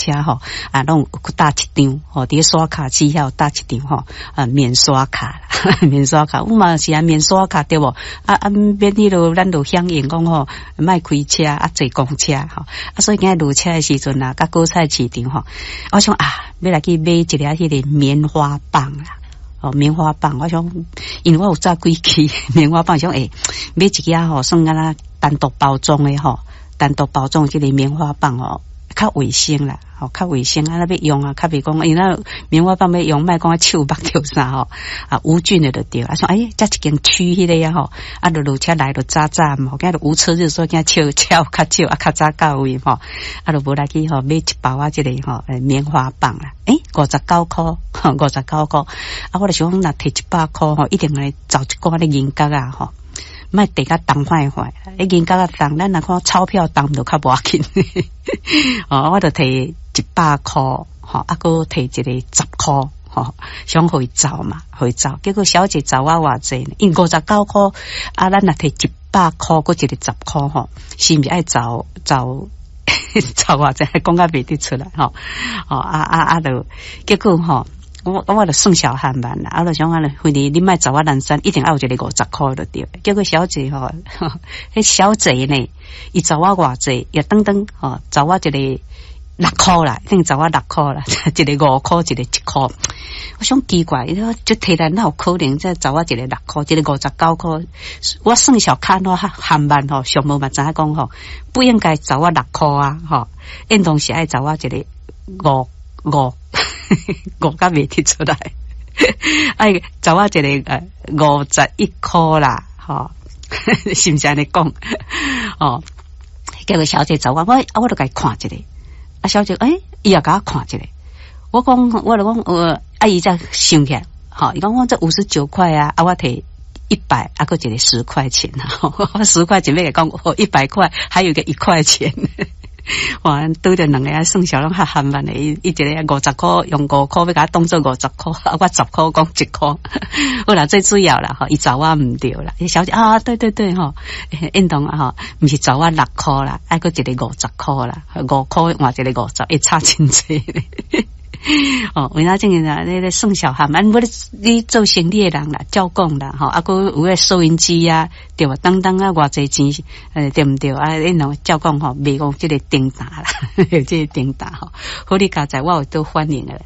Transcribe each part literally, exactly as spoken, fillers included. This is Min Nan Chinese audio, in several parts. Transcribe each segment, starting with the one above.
車吼，啊，攏有搭一張吼，佇咧刷卡機遐有搭一張吼，啊，免刷卡，免刷卡，阮嘛是啊，免刷卡對無？啊啊，免彼落，咱就響應講吼，莫開車啊，坐公車吼，啊，所以今日落車的時陣啊，佮果菜市場吼，我想啊，欲來去買一粒彼个棉花棒啦。哦，棉花棒，我想，因為我有早幾支棉花棒，想欸，買一支吼，算敢若單獨包裝的吼，單獨包裝這个棉花棒哦，較衛生啦，吼，較衛生啊，若欲用啊，較袂講，因為咱棉花棒欲用，莫講手縛著啥吼，啊，無菌的就對。啊，說欸，遮一間區彼个啊吼，啊，就落車來就早早嘛，今日無車日，所以驚車車有較少，啊，較早到位吼，啊，就無來去吼買一包仔這个吼棉花棒啦，欸，五十九箍，五十九箍，啊，我就想講，若提一百箍吼，一定會找一寡咧銀角仔吼。莫提較重壞壞，欸，銀角仔重，咱若看鈔票重就較無要緊。哦，我就提一百箍，吼，啊，閣提一个十箍，吼，想予伊走嘛，予伊走。結果小姐走我偌濟，因為五十九箍，啊，咱若提一百箍，閣一个十箍，吼，是毋是愛走走走偌濟？講較袂得出來，吼，哦，啊啊啊，就結果吼。我我就算小漢慢啦，啊，就想講咧，反正你莫走我南山，一定愛有一個五十箍就對。結果小姐吼，彼小姐呢，伊走我偌濟，也等等吼，走我一個六箍啦，一定走我六箍啦，一个五箍，一個一箍。我想奇怪，伊說這提來哪有可能？這走我一個六箍，一個五十九箍。我算小看我含慢吼，上無嘛知影講吼，不應該走我六箍啊，吼，應當是愛走我一個五五。五甲袂提出來，愛走我一個呃五十一箍啦，吼，是毋是按呢講？哦，結果小姐走我，我我就共伊看一下，啊，小姐，欸，伊也共我看一下，我講，我就講，呃，啊，伊才想起來，吼，伊講我這五十九塊啊，啊，我提一百，啊，閣一個十塊錢啊，十塊錢欲共講，一百塊，還有一個一塊錢。哇！拄著兩个算數攏較含慢的，伊伊一个五十箍用五箍欲共我當做五十箍，啊我十箍講一箍。好啦，最主要啦吼，伊找我毋對啦。小姐啊，對對對吼，應當啊吼，毋是找我六箍啦，愛閣一个五十箍啦，五箍換一个五十，會差真濟。哦，為啥這個啊？你咧算數含慢，無你你做生意的人啦，照講啦，吼，啊，閣有个收銀機啊，對無？當當啊，偌濟錢，呃，對毋對？啊，你儂照講吼，袂講這个叮當啦，這个叮當吼，好你佳哉，我有都反應的，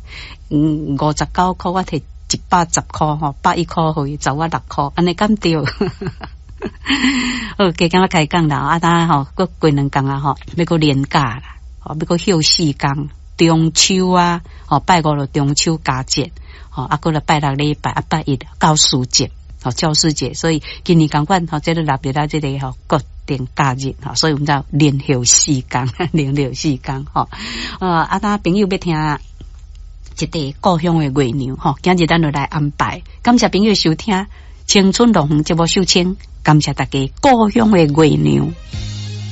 嗯，五十九箍，我提一百十箍吼，百一箍予伊，找我六箍，按呢敢對？好，加減仔開講啦，啊，當吼，閣過兩工啊，吼，欲閣連假啦，吼，欲閣休四工。中秋啊，吼，拜五就中秋佳節，吼，啊，閣來拜六禮拜，啊，拜一教師節，吼，教師節，所以今年仝款，吼，這个納入來這个吼國定假日，吼，所以阮們叫連休四工，連休四工，吼，呃，啊，當朋友欲聽一塊故鄉的月娘，吼，今日咱就來安排，感謝朋友收聽《青春樂園》節目收聽，感謝大家故鄉的月娘。